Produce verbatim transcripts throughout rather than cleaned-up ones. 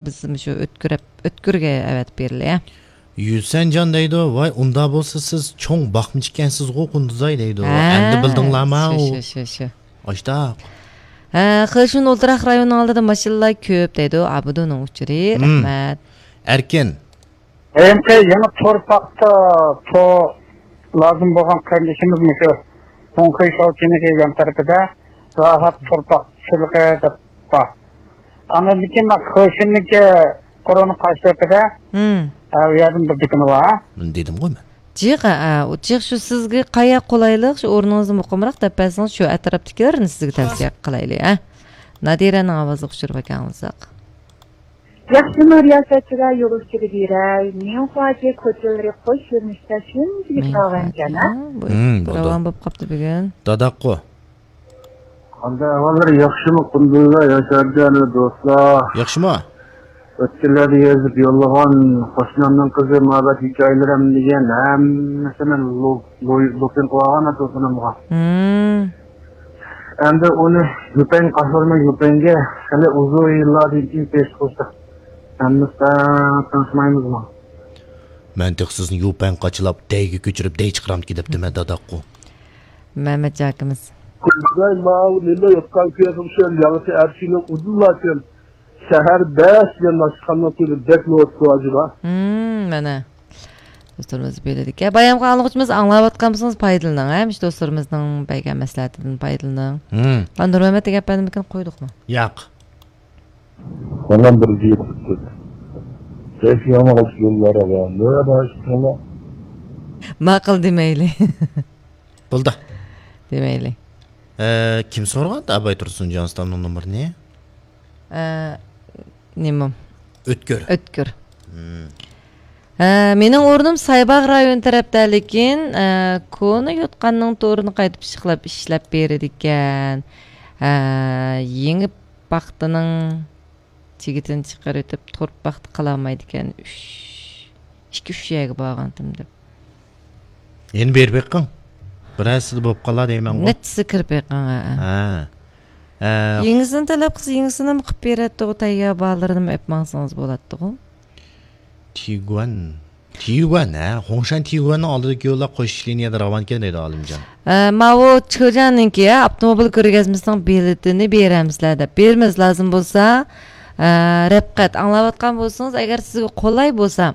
بىز مۇشۇ ئۆتكۈرەپ، ئۆتكۈرگە ئەۋەتىپ بېرىلى، ھە؟ يۈسەنجان دەيدۇ، ۋاي، ئۇندا بولسا سىز چوڭ باقمىچى ئىكەنسىزغۇ، قۇندۇزاي دەيدۇ. ھە، ئەمدى بىلدىڭلارما شۇ، ئۇ؟ شۇ، شۇ، شۇ. ئاشتاق. ھە، خېشۇن ئولتۇراق رايونىنىڭ ئالدىدا ماشىنىلار كۆپ دەيدۇ، ئابىدۇنىڭ ئۇچۇرى. مم. رەھمەت. ئەركىن. ھېلىقى يېڭى تورپاقتا تو لازىم بولغان قېرىندىشىمىز مۇشۇ خۇڭخېي شاۋچىنىڭ يان تەرىپىدە راھەت تورپاق چىلىقى دەپ بار. ئاندىن كېيىن مانا خېشىننىڭكى قورۇنىڭ قارشى تەرىپىدە، ھە، ئۇ يەردىن بىر دۇكىنى بار. بۇنى دېدىمغۇ مەن. جىق، ھە، ئۇ جىق شۇ سىزگە قايەر قولايلىق، شۇ ئورنىڭىزنى مۇقىمراق دەپ بەرسىڭىز، شۇ ئەتراپتىكىلەرنى سىزگە تەۋسىيە قىلايلى، ھە. نادىرەنىڭ ئاۋازلىق ئۇچۇرىغا ئاڭلىساق. ياخشىمۇ رىياسەتچىلەر يولۇچىلىرى، ميۇنخۇاجې كوچىلىرى خۇش كۆرۈنۈشتە شۇنچىلىك راۋانكەن، ھە؟ ھە، بۇ ھىم، بولدى. راۋان بولۇپ قاپتۇ بۈگۈن. داداققۇ. قانداق ئەھۋاللار؟ ياخشىمۇ قۇندۇزلار، ياشارجان دوستلار؟ ياخشىمۇ؟ ئۆتكەنلەردە يېزىپ يوللىغان قوشنامنىڭ قىزى مۇھەببەت ھېكايىلىرىم دېگەن ھەممىسىنى لو-، لو-، لوپىن قىلىۋالغان ئاتىسىنىڭغا. ھىم. ئەمدى ئۇنى يۈپەن قاچىلارمۇ يۈپەنگە خېلى ئۇزۇن يىللاردىن كېيىن پېش قىلسا، ھەممىسى تىڭشىمايمىزمۇ؟ مەن تېخى سىزنى يۈپەن قاچىلاپ، دەيگە كۆچۈرۈپ، دەي چىقىرامتىكى دەپتىمەن، داداققۇ. مەمەت ئاكىمىز. كۈلدۈرەي ماۋۇ نېمە يوتقان كۆيەتمىشەن، ياڭىسى ئەرشىنىڭ ئۇدۇللاچەن. شەھەر بەش يەنى ئاشخانىنىڭ تۆۋىنى بەك نوۋۇتقۇ ئاجىبا. ھىم، مانا. دوستلىرىمىز بۆلىدىكەن. بايامقى ئاڭلىغۇچىمىز ئاڭلاۋاتقان بولسىڭىز پايدىلىنىڭ، ھە؟ مۇشۇ دوستلىرىمىزنىڭ بەرگەن مەسلىھەتىدىن پايدىلىنىڭ. ھىم. نۇرمەمەت دېگەن ئەپەندىمىكىن قويدۇقمۇ؟ ياق. سالام بىر يىگىت. كەيفى يامان يوللار ئاغا. نۆۋەتتە ئاشىقىڭلار. ماقۇل دېمەيلى. بولدى. دېمەيلى. ئە، كىم سورىغان ئاباي تۇرسۇنجان ئۇستامنىڭ نومۇرىنى؟ ئە، نېمە؟ ئۆتكۈر. ئۆتكۈر. ھىم. ئە، مېنىڭ ئورنۇم سايباغ رايونى تەرەپتە، لېكىن، ئە، كونا يوتقاننىڭ تورىنى قايتا پىششىقلاپ ئىشلەپ بېرىدىكەن. ئە، يېڭى پاختىنىڭ چىگىتىنى چىقىرىۋېتىپ، تورپاقتا قالالمايدىكەن. ئۈچ، ئىككى، ئۈچ يەرگە بارغانتىم دەپ. يەنە بېرىپ بېقىڭ. بىرەرسىدە بولۇپ قالار دەيمەنغۇ. نەچچىسى كىرىپ بېقىڭ، ھە. ھە. ھە. يېڭىسىنى تەلەپ قىلسا، يېڭىسىنىمۇ قىلىپ بېرەتتىغۇ، تەييار بارلىرىنىمۇ ئېلىپ ماڭسىڭىز بولاتتىغۇ. تيگۇەن. تيگۇەن، ھە، خۇڭشەن تيگۇەننىڭ ئالدىدىكى يوللار قوشۇش لىنىيەدە راۋانكەن دەيدۇ ئالىمجان. ئە، ماۋۇ چېجيەننىڭكى، ھە، ئاپتوموبىل كۆرگەزمىسىنىڭ بېلىتىنى بېرەمسىلەر دەپ. بېرىمىز، لازىم بولسا، ئە، رەپقەت ئاڭلاۋاتقان بولسىڭىز، ئەگەر سىزگە قولاي بولسا،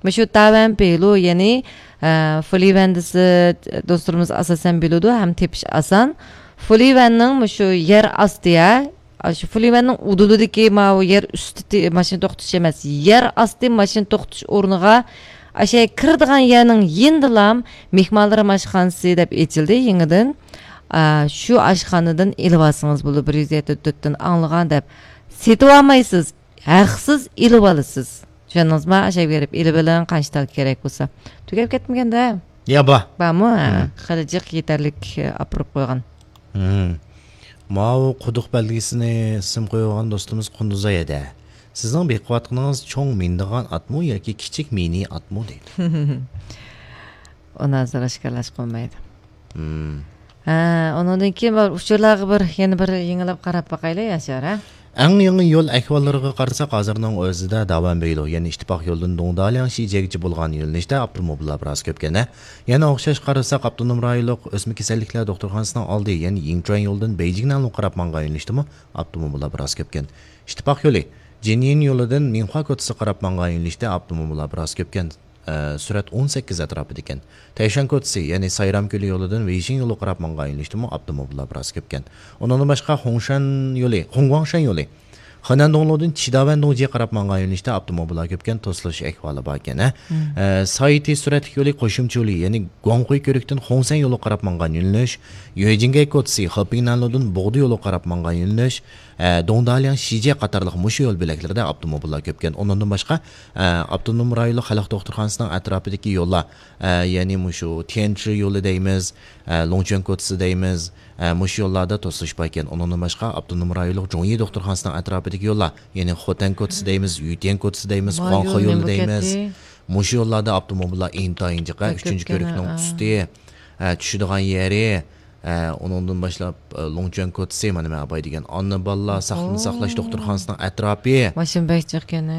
مۇشۇ تاۋەنپېيلۇ، يەنى، ئە، فۇلىۋەندىسى دوستلىرىمىز ئاساسەن بىلىدۇ، ھەم تېپىش ئاسان. فۇلىۋەننىڭ مۇشۇ يەر ئاستى، ھە، ئاشۇ فۇلىۋەننىڭ ئۇدۇلىدىكى ماۋۇ يەر ئۈستى تې-، ماشىنا توختىتىش ئەمەس، يەر ئاستى ماشىنا توختىتىش ئورنىغا ئاشۇ كىرىدىغان يەرنىڭ يېنىدىلا مېھمانلار ئاشخانىسى دەپ ئېچىلدى يېڭىدىن. ئا، شۇ ئاشخانىدىن ئېلىۋالسىڭىز بولىدۇ، بىر يۈز يەتتە تۆتتىن ئاڭلىغان دەپ. سېتىۋالمايسىز، ھەقسىز ئېلىۋالىسىز. چۈشەندىڭىزمۇ؟ ئاشۇ يەرگە بېرىپ ئېلىۋېلىڭ، قانچە تال كېرەك بولسا. تۈگەپ كەتمىگەندە. يا، بار. بارمۇ؟ ھە، مم. خېلى جىق يېتەرلىك، ئاپىرىپ قويغان. مم. ماۋۇ قۇدۇق بەلگىسىنى سىم قويغان دوستىمىز قۇندۇزاي ھەدە. سىزنىڭ بېقىۋاتقىنىڭىز چوڭ مىنىدىغان ئاتمۇ ياكى كىچىك مىنى ئاتمۇ دەيدۇ. ئۇنى ھازىر ئاشكارىلاشقا بولمايدۇ. مم. ھە، ئۇنىڭدىن كېيىن بىر ئۇچۇرلارغا بىر، يەنە بىر يېڭىلاپ قاراپ باقايلى، ياشار، ھە؟ ئەڭ يېڭى يول ئەھۋاللىرىغا قارىساق، ھازىرنىڭ ئۆزىدە داۋەنبېيلۇ، يەنى ئىتتىپاق يولىدىن دۇڭدالياڭ شىجيەگىچە بولغان يۆنىلىشتە ئاپتوموبىللار بىراز كۆپكەن، ھە؟ يەنە ئوخشاش قارىساق، ئاپتونوم رايونلۇق ئۆسمە كېسەللىكلەر دوختۇرخانىسىنىڭ ئالدى، يەنى يىڭچۈەن يولىدىن بېيجىڭنىڭ قاراپ ماڭغان يۆنىلىشتىمۇ ئاپتوموبىللار بىراز كۆپكەن. ئىتتىپاق يولى، جىنيىن يولىدىن مىنخۇا كوچىسىغا قاراپ ماڭغان يۆنىلىشتە ئاپتوموبىللار بىراز كۆپكەن. ئە، سۈرئەت ئون سەككىز ئەتراپىدىكەن. تەيشەن كوچىسى، يەنى سايرام كۆلى يولىدىن ۋېيشىڭ يولىغا قاراپ ماڭغان يۆنىلىشتىمۇ ئاپتوموبىللار بىراز كۆپكەن. ئۇنىڭدىن باشقا، خۇڭشەن يولى، خۇڭگۇاڭشەن يولى، خېنەن دۇڭلۇدىن چىداۋەن دۇڭجىغا قاراپ ماڭغان يۆنىلىشتە ئاپتوموبىللار كۆپكەن، توسۇلۇش ئەھۋالى باركەن، ھە. مم. ئە، سايتى سۈرئەتلىك يولى، قوشۇمچە يولى، يەنى گۇاڭخۇي كۆۋرۈكتىن خۇڭسەن يولىغا قاراپ ماڭغان يۆنىلىش، يۆجىڭگەي كوچىسى، خېپىڭنەنلۇدىن بوغدا يولىغا قاراپ ماڭغان يۆنىلىش، ئە، دۇڭدالياڭ شىجيە قاتارلىق مۇشۇ يول بۆلەكلىرىدە ئاپتوموبىللار كۆپكەن. ئۇنىڭدىن باشقا، ئە، ئاپتونوم رايونلۇق خەلق دوختۇرخانىسىنىڭ ئەتراپىدىكى يوللار، ئە، يەنى مۇشۇ تيەنشى يولى دەيمىز، ئە، لوڭچۈەن كوچىسى دەيمىز، ئە، مۇشۇ يوللاردا توسۇلۇش باركەن. ئۇنىڭدىن باشقا، ئاپتونوم رايونلۇق جۇڭيى دوختۇرخانىسىنىڭ ئەتراپىدىكى يوللار، يەنى خوتەن كوچىسى دەيمىز، يۈتيەن كوچىسى دەيمىز، ۋاي، خۇاڭخې يولى يولى نېمە دەيمىز. كەتتى؟ مۇشۇ يوللاردا ئاپتوموبىللار ئىنتايىن جىق، ئۈچىنچى كۆۋرۈكنىڭ ئۈستى، ئە، چۈشىدىغان يېرى، ئە، ئۇنىڭدىن باشلاپ، ئە، لوڭچۈەن كوتىسى، مانا مەن ئاپاي دېگەن ئانا بالىلار ساقلىقنى ساقلاش دوختۇرخانىسىنىڭ ئەتراپى. ماشىنا بەك جىقكەن.